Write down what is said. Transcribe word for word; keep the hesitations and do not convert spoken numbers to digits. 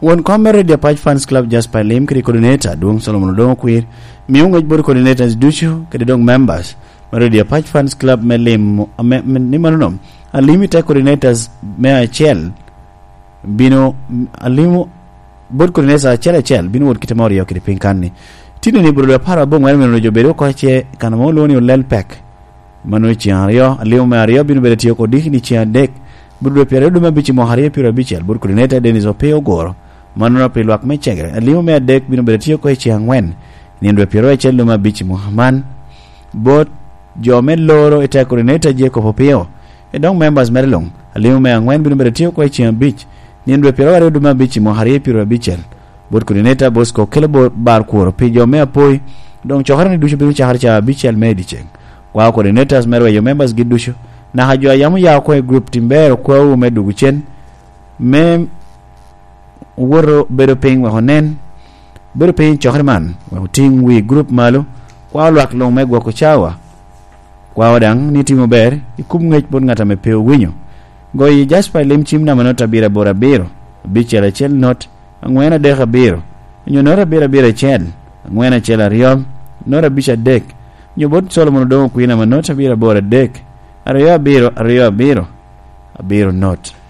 Won kom me Radio Apac Fans Club, Jasper Lim, kede coordinator, Dwong Solomon Odongo Kwir, mio ngec bot coordinators ducu, kede dong members me Radio Apac Fans Club me lim, me, me, ni mano nom. Alimi te coordinators me acel, bino, alimo, bot coordinators acel acel, bino wot kite ma oryo kede piny kan ni. Tino ni bro apar abongwen mino jo bedo oko ce, kan mo lwongo ni olel pek. Mano i ceng aryo, alimo me aryo bino bedo tye oko diki ni ceng adek, bro dwe pyeraryo dwe me abic i mwaka aryo pyeraryo abicel, bot coordinator Dennis Opio Ogoro. Mano pi lwak me cegere. Alimo me adek bino bedo tye oko i ceng angwen, nino dwe pyeraryo acel dwe me abic i mwaka man. Bot jo me loro i te coordinator Jacob Opio, i dong members mere luŋ. Alimo me angwen bino bedo tye oko i ceng abic, nino dwe pyeraryo dwe me abic i mwaka aryo pyeraryo abicel. Bot coordinator Bosco kelo bo-, bar kworo pi jo me apoi, dong cokere ni ducu bino cakere ca abicel me i dyeceng. Kwao coordinators me rweyo members gi ducu, naka jo a yam oya oko i group tim ber okwawu me dugu cen, me woto bedo piny wek onen, bedo piny cokere man, wek otiŋ wi group malo, kwao lwak luŋ me gwoko cawa. Kwao daŋ ni timo ber i kum ŋec bot ŋat ame pe owinyo. Goyi Jasper i lim cim namba not abiro aboro abiro, abicel acel not, angwen adek abiro, onyo not abiro abiro acel, angwen acel aryo, not abic adek, onyo bot Solomon Odongo Kwir namba not abiro aboro adek, aryo abiro, aryo abiro, abiro not.